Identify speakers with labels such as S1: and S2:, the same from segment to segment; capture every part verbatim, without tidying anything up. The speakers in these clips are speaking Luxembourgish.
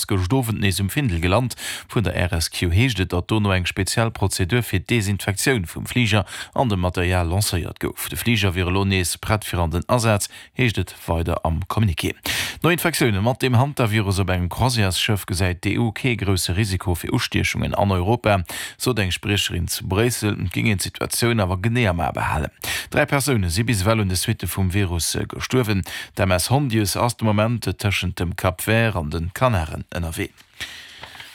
S1: Gëscht Owend nees um Findel gelant. Vun der R S Q heescht et, datt dono eng speziell Prozedur fir d'Desinfektioun vum Fliger an dem Material lancéiert gouf. De Fliger wier elo nees prett fir an den Asaz, heescht et weider am Communiqué. No Infektioune mat dem Hantavirus op engem Croisièresschëff gesäit d'E U kee grousse Risiko fir Ustiechungen an Europa, sot eng Spriecherin zu Bréissel, géing een d'Situatioun awer genee am A behalen. Dräi Persoune si bis ewell un de Suitte vum Virus gestuerwen. D'M S Hondius ass de Moment tëschent dem Cap Vert an de Kanaren ënnerwee.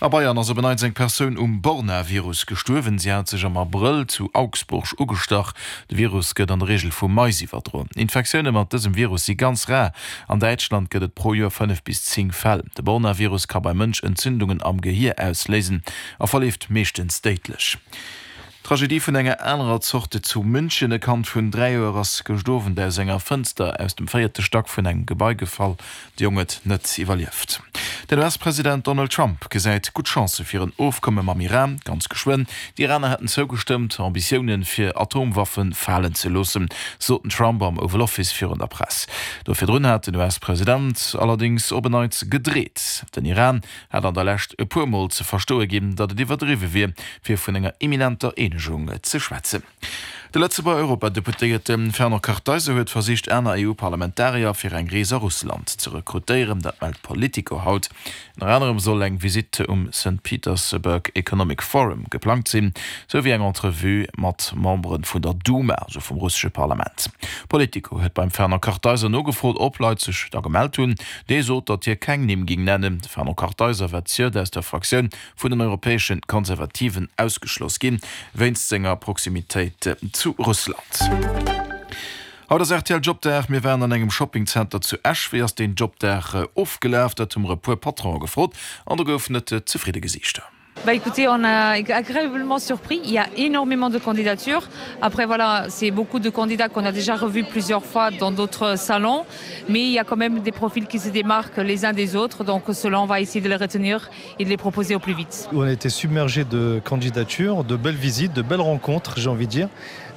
S1: A Bayern ass op en Neits eng Persoun um Borna-Virus gestuerwen. Si hat sech am Abrëll zu Augsburg ugestach. De Virus gëtt an der Reegel vu Mais iwwerdroen. Infektioune mat dësem Virus si ganz rar. An Däitschland gëtt et pro Joer fënnef bis zéng Fäll. De Borna-Virus ka beim Mënsch Entzündungen am Gehier ausléisen a verleeft meeschtens déidlech. Tragedie vun enger anerer Zorte zu München. E Kand vun dräi Joer ass gëscht Owend aus enger Fënster aus dem véierte Stack vun engem Gebai gefall. De Jong huet net iwwerlieft. Den U S-President Donald Trump gesäit gutt Chancë fir en Ofkomme mam Iran, ganz geschwënn. D'Iraner hätten zougestëmmt, Ambitioune fir Atomwaffe falen ze loossen, sot den Trump am Oval Office virun der Press. Do virdrun hat den U S-President allerdéngs op en Neits gedreet. Den Iran hat an der Lescht e puer Mol ze verstoe ginn, datt et iwwerdriwwe wier, fir vun enger imminenter Eenegung ze schwätzen. De Lëtzebuerger Europadeputéierte Fernand Kartheiser huet versicht, aner E U-Parlamentarier fir eng Rees a Russland ze rekrutéieren, dat mellt Politico haut. Ënner anerem soll eng Visitt um Saint Petersburg Economic Forum geplangt sinn, sou wéi eng Entrevue mat Membere vun der Duma, also vum russesche Parlament. Politico huet beim Fernand Kartheiser nogefrot, ob Leit sech da gemellt hunn. Dee sot, datt hie keng Nimm géing nennen. Fernand Kartheiser war zejoert aus der Fraktioun vun den europäesche Konservativen ausgeschloss ginn, wéinst senger Proximitéit zu Russland. Haut ass R T L Jobdag. Mir waren an engem Shoppingzenter zu Esch. Wéi ass den Jobdag ofgelaf? Dat hu mer e puer Patronen gefrot an do goufen et zefridde Gesiichter.
S2: Bah écoutez, on a agréablement surpris. Il y a énormément de candidatures. Après, voilà, c'est beaucoup de candidats qu'on a déjà revus plusieurs fois dans d'autres salons. Mais il y a quand même des profils qui se démarquent les uns des autres. Donc cela, on va essayer de les retenir et de les proposer au plus vite.
S3: On a été submergé de candidatures, de belles visites, de belles rencontres, j'ai envie de dire.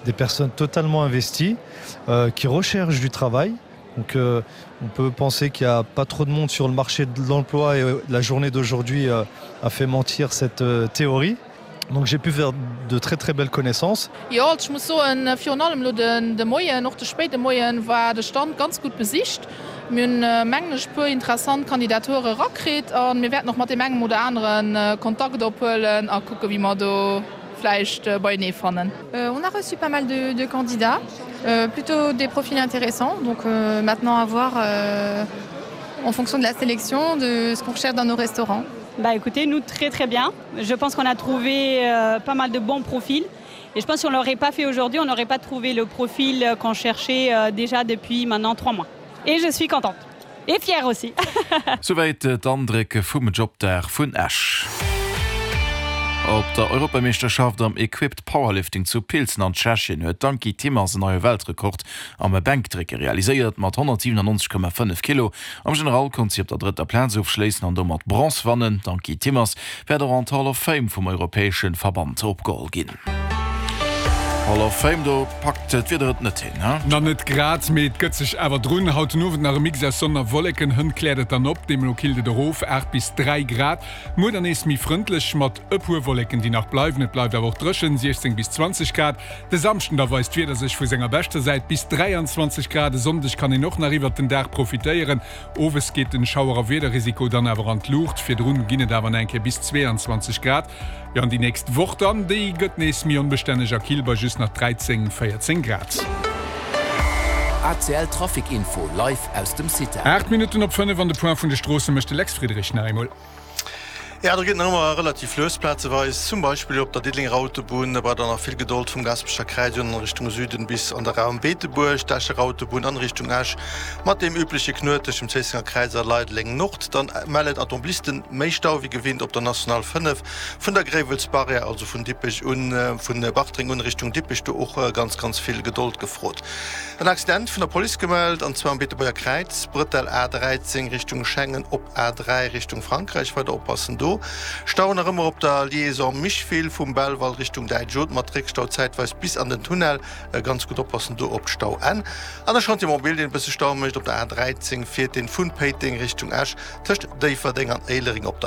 S3: Des personnes totalement investies, euh, qui recherchent du travail. Donc euh, on peut penser qu'il n'y a pas trop de monde sur le marché de l'emploi et euh, la journée d'aujourd'hui euh, a fait mentir cette euh, théorie. Donc j'ai pu faire de très très belles connaissances.
S4: Jo, ech muss soen, virun allem lo den de Moien, och de spéide Moien war de Stand ganz gutt besicht. Mir hunn mengen ech e puer interessant Kandidature rakritt an mir wäerten och mat deem engem oder aneren äh, Kontakt ophuelen a kucke wéi mer do vläicht äh, beienee fannen.
S5: Euh, on a reçu pas mal de, de candidats, euh, plutôt des profils intéressants. Donc euh, maintenant à voir euh, en fonction de la sélection de ce qu'on recherche dans nos restaurants.
S6: Bah écoutez, nous très très bien. Je pense qu'on a trouvé euh, pas mal de bons profils. Et je pense qu'on l'aurait pas fait aujourd'hui, on n'aurait pas trouvé le profil euh, qu'on cherchait euh, déjà depuis maintenant trois mois. Et je suis contente. Et fière aussi.
S1: Souwäit d'Andréck vum Jobdag vun Esch. Op der Europameeschterschaft am Equipped Powerlifting zu Pilsen an Tschechien huet d'Ankie Timmers en neie Weltrekord am Bänkdrécke realiséiert mat honnertsiwenannonzeg Komma fënnef Kilo. Am General konnt si op der drëtter Plaz ofschléissen an domat Bronz gewannen. D'Ankie Timmers wäert och an d'Hall of Fame vum europäesche Verband opgeholl ginn. Hall of Fame, do packt d'Wieder et net hin, ne?
S7: Na net grad, mee et gëtt sech awer drun. Haut den Owend nach e Mix aus Sonn a Wolleken, hënt kläert et dann op, deemno killt et erof, aacht bis dräi Grad. Muer dann nees méi frëndlech mat e puer Wolleken, déi nach bleiwen. Et bleift awer och dréchen, siechzéng bis zwanzeg Grad. De Samschden da weist d'Wieder sech vu senger beschter Säit, bis dräianzwanzeg Grad. E Sonndeg kann een och nach iwwert den Dag profitéieren. Owes geet den Schauer a Wiederrisiko dann awer an d'Luucht. Virdrun ginn et awer nach eng Kéier bis zweeanzwanzeg Grad. Jo, an déi nächst Woch dann, déi gëtt nees méi onbestänneg a kill bei just nach dräizéng, véierzéng Grad.
S8: R T L Trafic Info live aus dem Cita.
S7: Aacht Minutten op fënnef an de Point vun de Stroosse mécht de Lex Friedrich nach eemol.
S9: Ja, do geet nach ëmmer relativ lues plazeweis, zum Beispill op der Diddelenger Autobunn, bei der nach vill Gedold vum Gaasperecher Kräiz un an Richtung Süden bis an de Raum Beetebuerg, d'Escher Autobunn an Richtung Esch mat dem übleche Knuet tëscht dem Zéissenger Kräiz a Leideleng Nord. Dann mellen Automobilisten méi Stau wéi gewinnt op der National fënnef vun der Gréiwelsbarrière, also vun Dippech un, vun Bartreng un Richtung Dippech, do och ganz ganz vill Gedold gefrot. En Accident vun der Police gemellt, an zwar am Beetebuerger Kräiz, Brëttel A dräizéng Richtung Schengen op A dräi Richtung Frankräich, weider oppassen do. do. Stau nach ëmmer op der Liaison Micheville vum Belval Richtung Däitsch Haute mat Réckstau zäitweis bis an den Tunnel. Ganz gutt oppassen do op d'Stauenn. An de Chantier mobile deen e bësse Stau mécht op der A dräizéng fiert deen vun Péiteng Richtung Esch tëscht Déifferdeng an Éilereng op der.